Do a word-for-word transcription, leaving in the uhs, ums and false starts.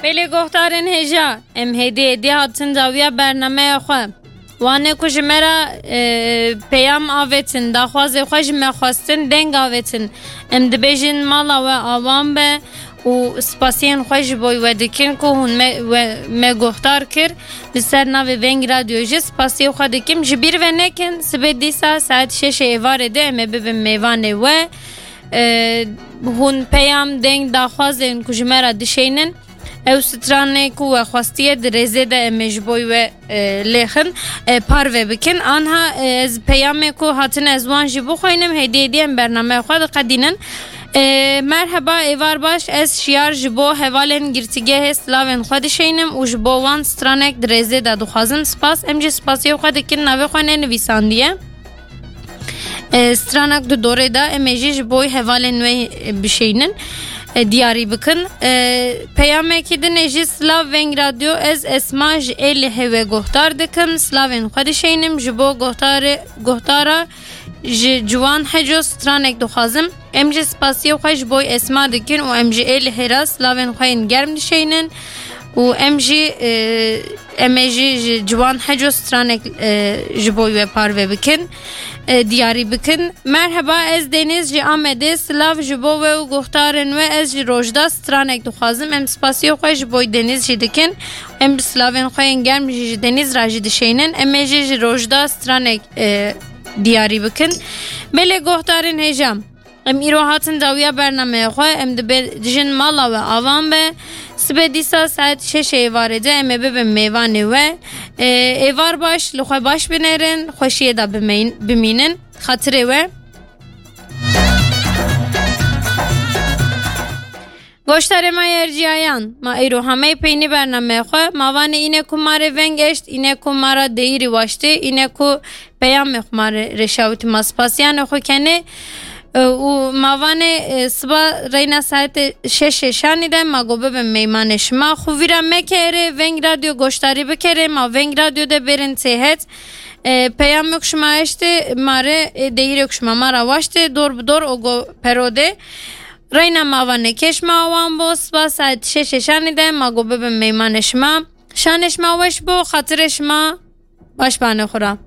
Belê guhdarên hêja, em hêdî hêdî hatin dawiya bernameya xwe. Wane ku ji me re, e, peyam avêtin, daxwazê xwe ji me xwestin, deng avêtin. Em dibêjin mala we awan be û spasiyên xwe ji bo we dikin ku hûn me, we, me guhdar kir. Li ser navê Veng Radyo jî spasiyê xwe dikim. Ji bîr ve nekin, sibê dîsa saet şeşê êvarê de em ê bibin mêvanê we. E, hûn peyam, deng, daxwazên ku ji me re dişeynin, ew stranê ku we xwestiye di rêzê de em ê ji bo we, e, lêxin, e, parve bikin. Anha, e, ez peyamê ku hatine ez wan jî bixwînim, hêdî hêdî em bernameya xwe diqedînin. E, merheba, êvar baş, ez Şiyar ji bo hevalên girtîgehê silavên xwe dişeynim û ji bo wan stranek di rêzê de dixwazim. Spas, em jî spasiyê xwe dikin, navê xwe nenivîsandiye. E, stranak di dorê de em ê jî ji bo hevalên wê, e, bişeynin, e, diyarî bikin. E, peyamekî din ê jî silav Veng Radyo, ez Esma ji Êlihê we guhdar dikim. Silavên xwe dişeynim, ji bo guhdarê, guhdara ji Ciwan Heco stranek dixwazim. Em jî spasiyê xwe ji bo Esma dikin û em ji Êlihê re silavên xwe yên germ dişeynin û em jî, e, em ê jî ji Ciwan Heco stranek, e, ji bo we parve bikin, e, diyarî bikin. Merheba, ez Deniz ji Amedê, silav ji bo we û guhdarên we, ez ji Rojda stranek dixwazim. Em spasiyê xwe ji bo Deniz jî dikin. Em bi silavên xwe yên germ jî ji Deniz re jî dişeynin. Em ê jî ji Rojda stranek, e, diyarî bikin. Belê guhdarên hêja, em îro hatin dawiya bernameya xwe, em dibêjin mala we avan be. Sibê dîsa saet şeşê êvarê de em ê bibin mêvanê we. Ê, êvar baş, li xwe baş binêrin, xweşiyê de bimeyn-, bimînin. Xatirê we. Goştarê me yê erciyayan, ma îro hemeyî peynî bernameya xwe, ma vanê îne ku ma rê veng eşt, îne ku ma ra deyîrî waştê, îne ku peyamê xwe ma rê rêşawitî, ma spasiyanê xwe kenê. E, û ma vanê, e, siba reyna saetê şeşê şanî de ma got bibin meymanê şima. Xwe vîra mekerê, Veng Radyo goştarî bikerê, ma Veng Radyo de bêrin têhet. E, peyamê ku şima eştê ma rê, e, deyîrê ku şima ma ra waştê, dor bi dor o go perodê. Reyna ma vanê kêş ma wan bo, siba saet şeşê şanî de ma got bibin meymanê şima. Şanê şima weş bo, xatirê şima baş banê xwe ra.